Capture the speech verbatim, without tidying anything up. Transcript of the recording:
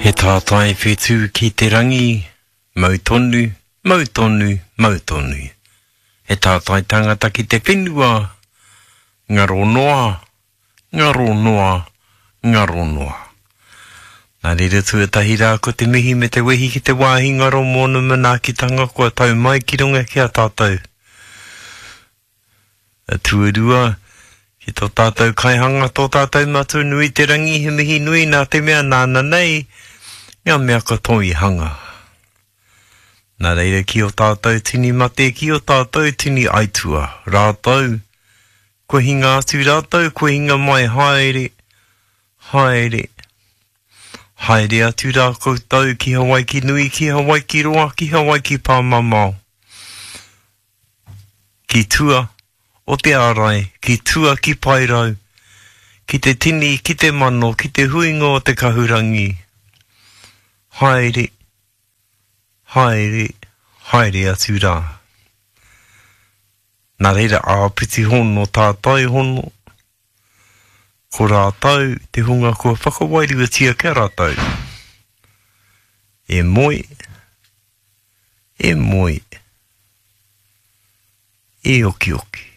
He tātai whetū ki te rangi, mau tonu, mau tonu, mau tonu. He tātai tangata ki te whenua, ngaro noa, ngaro noa, ngaro noa. Nā reira tuatahi rā ko te mihi me te wehi ki te wāhi ngaro mōna manaakitanga kua tau mai ki runga ki a tātou. A tuarua, ki tō tātou kaihanga, tō tātou matua nui te rangi, he mihi nui nā te mea nāna nei, ngā mea katoa i hanga. Nā reira ki o tātou tini mate, ki o tātou tini aitua, rātou, kua hinga atu rātou, kua hinga mai haere, haere, haere atu rā koutou ki Hawaiki nui, ki Hawaiki roa, ki Hawaiki pāmamao. Ki tua o te ārai, ki tua ki Paerau, ki te tini, ki te mano, ki te huinga o te kahurangi. Haere, haere, haere atu rā. Nā reira āpiti hono tātai hono, ko rātou te hunga kua whakawairuatia kia rātou. E moe, e moe, e okioki.